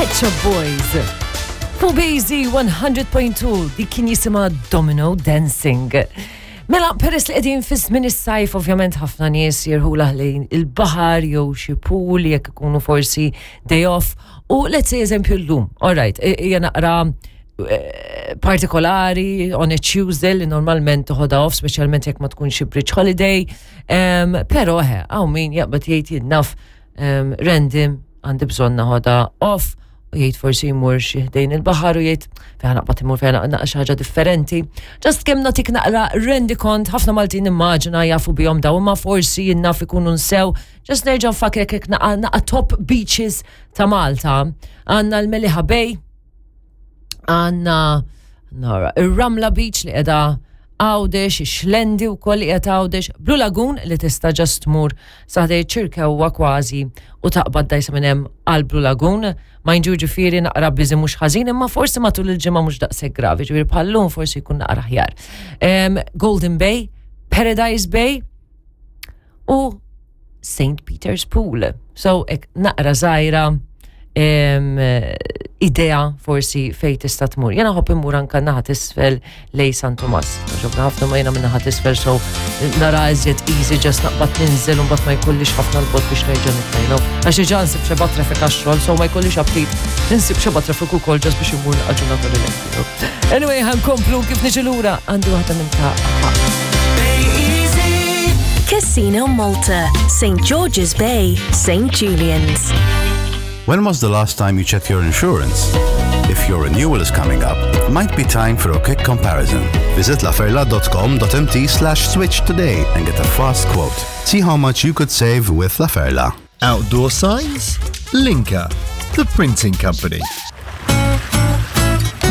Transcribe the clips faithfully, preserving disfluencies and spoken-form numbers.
Pet Shop Boys. Fuq Bejzi one hundred point two, dik kien jisimha Domino Dancing. Mela, peress li qegħdin fi żmien is-sajf, ovvjament ħafna nies jirħula lejn il-baħar jew xi pool jekk ikunu forsi day off. U let's say, eżempju, llum, all right, hija naqra eh, partikolari on a Tuesday li normalment toħodha off, speċjalment jekk ma tkun xi bridge holiday. Um, pero eħe, hawn min jaqbad jgħid, "Jien naf, um, random għandi bżonn naħodha off," u jgħid forsi jmur xi ħdejn il-baħar u jgħid fejn naqbad imur, fejn naqra xi ħaġa differenti. Just kemm nagħtik naqra rendikont, ħafna Maltin nimmaġina jafu bihom daw, imma forsi jien naf ikunu nsew. Just nerġa' nfakkrek hekk naqa naqa top beaches ta' Malta. Għandna l-Meliħa Bay, għandna nara, ir-Ramla Beach li qiegħda Għawdex, ix-Xlendi wkoll li qiegħed Għawdex, Blue Lagoon li tista' just tmur sa ħdejn Ċirkewwa kważi u taqbad dajsa minn hemm għal Blue Lagoon. Ma ġifieri naqra busy mhux ħażin, imma forsi matul il-ġimgħa mhux daqshekk gravi, ġifieri bħallum forsi jkun naqra aħjar. Em, Golden Bay, Paradise Bay u Saint Peter's Pool. So, hekk naqra żgħira em, idea forsi fej tista' tmur. Jena nħobb immur anka naħa t'isfel lejn San Tomas. Ġobna ħafna ma jena minn naħa t'isfel, so nara iżjed easy just naqbad ninżel u mbagħad ma jkollix ħafna l-bot biex nerġa' nitla', you know. Għax diġà nsib xeba traffic għax-xogħol, so ma jkollix aptit nsib xeba traffic ukoll just biex immur naqra ġurnata relax, you know. Anyway, ħa nkomplu kif niġi lura għandi waħda minn ta' Casino Malta, Saint George's Bay, Saint Julian's. When was the last time you checked your insurance? If your renewal is coming up, it might be time for a quick comparison. Visit laferla dot com dot M T slash switch today and get a fast quote. See how much you could save with La Ferla. Outdoor signs? Linka, the printing company.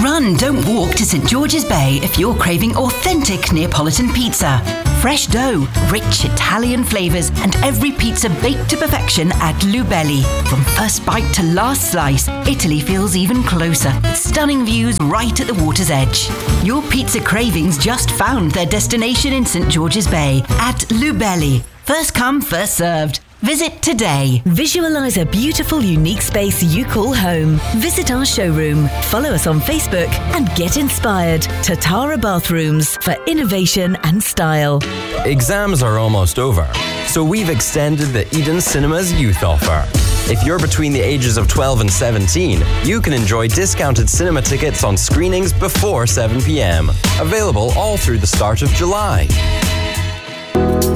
Run, don't walk to Saint George's Bay if you're craving authentic Neapolitan pizza. Fresh dough, rich Italian flavours, and every pizza baked to perfection at Lubelli. From first bite to last slice, Italy feels even closer, with stunning views right at the water's edge. Your pizza cravings just found their destination in Saint George's Bay at Lubelli. First come, first served. Visit today. Visualize a beautiful, unique space you call home. Visit our showroom, follow us on Facebook, and get inspired. Tatara Bathrooms, for innovation and style. Exams are almost over, so we've extended the Eden Cinemas youth offer. If you're between the ages of twelve and seventeen, you can enjoy discounted cinema tickets on screenings before seven p m. Available all through the start of July.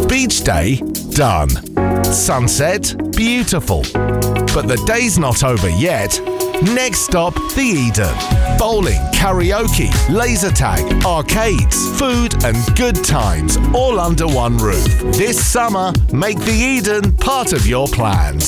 Beach day, done. Sunset, beautiful. But the day's not over yet. Next stop, the Eden. Bowling, karaoke, laser tag, arcades, food, and good times all under one roof. This summer, make the Eden part of your plans.